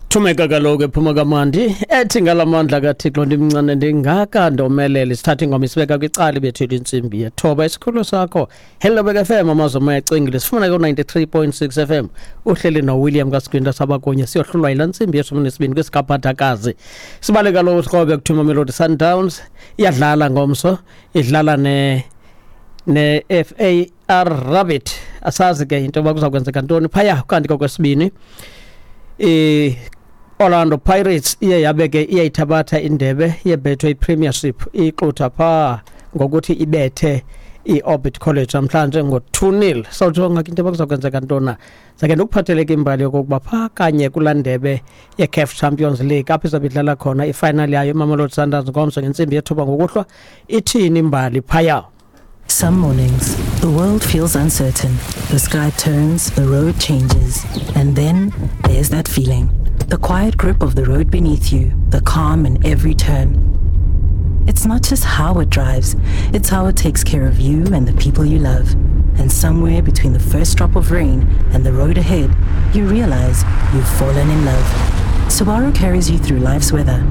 Thumeka kaloku ephuma kamandi ethi ngalamandla kaThixo ndimncane ndingaka ndomelele. Sithatha ingoma isibeka kwicala ibethile intsimbi yethoba. Isikhululo sakho Hello Bek FM, amazwi omoya acingile, sifuna ku-93.6 FM. Uhleli noWilliam kaSigwinta sabakunye siyohlulwa yilaa ntsimbi yeshumi nesibini kwisikaphathakazi. Sibale kaloku sikrobe kuthiwa Mamelodi Sundowns iyadlala ngomso, idlala ne-FAR Rabat. Asazi ke into yoba kuza kwenzeka ntoni phaya. Kanti kokwesibini i-Orlando Pirates iye yabe ke iyayithabatha indebe yeBetway Premiership, ixutha phaa ngokuthi ibethe i-Orbit College namhlanje ngo-2-0. Sawujonga ke into yoba kuza kwenzeka ntoni. Sake ndikuphatheleke imbali yokokuba phaa kanye kulaa ndebe ye-CAF Champions League apho izabe idlala khona ifinal yayo iMamelodi Sundowns ngomso ngentsimbi yethoba ngokuhlwa, ithini imbali phaya. Some mornings, the world feels uncertain. The sky turns, the road changes, and then there's that feeling. The quiet grip of the road beneath you, the calm in every turn. It's not just how it drives, it's how it takes care of you and the people you love. And somewhere between the first drop of rain and the road ahead, you realize you've fallen in love. Subaru carries you through life's weather.